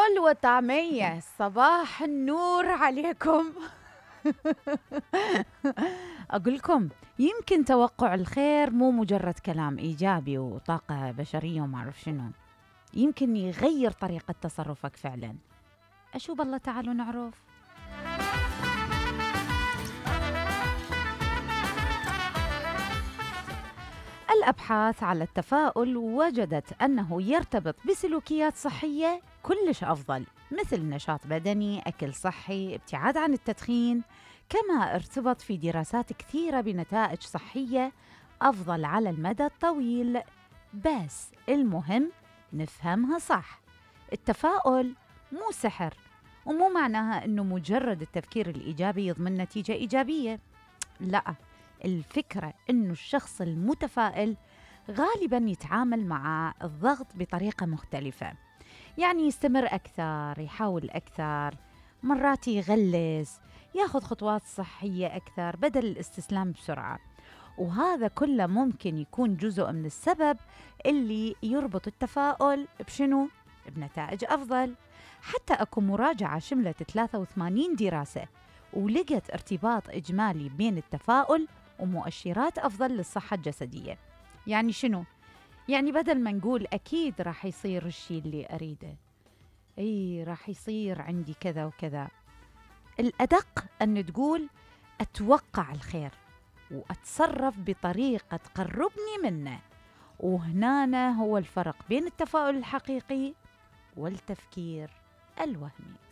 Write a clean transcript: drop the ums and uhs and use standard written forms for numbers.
فول وطعمية، صباح النور عليكم. أقولكم يمكن توقع الخير مو مجرد كلام إيجابي وطاقة بشرية وما أعرف شنو، يمكن يغير طريقة تصرفك فعلا. أشو بالله، تعالوا نعرف. الأبحاث على التفاؤل وجدت أنه يرتبط بسلوكيات صحية كلش أفضل، مثل نشاط بدني، أكل صحي، ابتعاد عن التدخين، كما ارتبط في دراسات كثيرة بنتائج صحية أفضل على المدى الطويل. بس المهم نفهمها صح. التفاؤل مو سحر، ومو معناها أنه مجرد التفكير الإيجابي يضمن نتيجة إيجابية. لا، الفكرة أنه الشخص المتفائل غالباً يتعامل مع الضغط بطريقة مختلفة، يعني يستمر أكثر، يحاول أكثر، مرات يغلس، ياخذ خطوات صحية أكثر بدل الاستسلام بسرعة. وهذا كله ممكن يكون جزء من السبب اللي يربط التفاؤل بشنو؟ بنتائج أفضل. حتى أكو مراجعة شملت 83 دراسة ولقت ارتباط إجمالي بين التفاؤل ومؤشرات أفضل للصحة الجسدية. يعني شنو؟ يعني بدل ما نقول أكيد راح يصير الشيء اللي أريده، راح يصير عندي كذا وكذا، الأدق أن تقول أتوقع الخير وأتصرف بطريقة تقربني منه. وهنا هو الفرق بين التفاؤل الحقيقي والتفكير الوهمي.